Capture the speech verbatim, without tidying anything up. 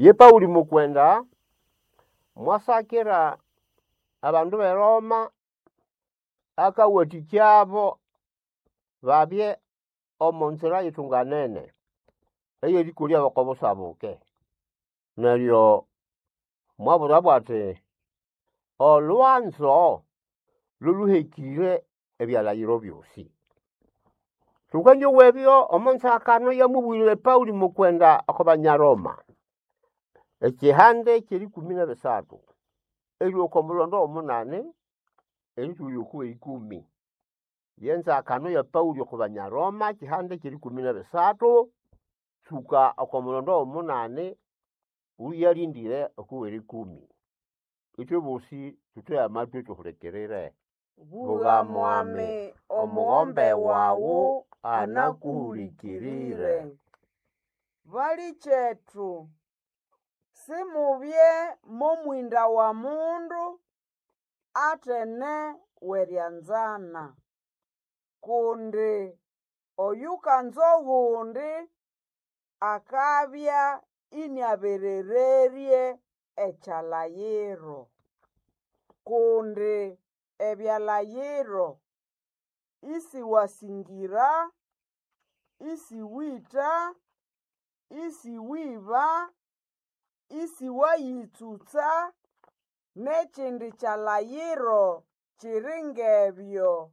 Ye Paũlĩ mukwenda mwasakira abandu b'eRoma akawatĩkyabo babye omo nzira yitunganene ey'erĩkolyabo oko busa buke. Neryo mwabwirabo ati olwanzo lolũhekĩre ebyalhaghiro ebyosi. Thukandyowa ebyo omo nzakano eyamubwĩre Paũlĩ mukwenda oko banya Roma, ekyihande ky'erĩkũmĩ n'ebisathu erilhwa oko mulhondo w'omunani erĩtũlya oko w'erĩkũmĩ. Yenzakano ya Paũlĩ oko banya Roma ekyihande ky'erĩkũmĩ n'ebisathu tsũka oko mulhondo w'omunani ũyalĩndĩre oko w'erĩkũmĩ. Ithwe bosĩ thuthege amatwi thuhulikirire. Bugha mwami, omughombe wawu anakuhulikirire. Balikyetu, simubye mo mwinda wa mundu atene w'erianzana. Kundi oyukanza ogundi akabya iniaberererye ekyalayiro. Kundi ebyalayiro, isiwasingira, isiwita, isiwiba, isiwayitsutsa, n'ekindi kyalayiro kiri ng'ebyo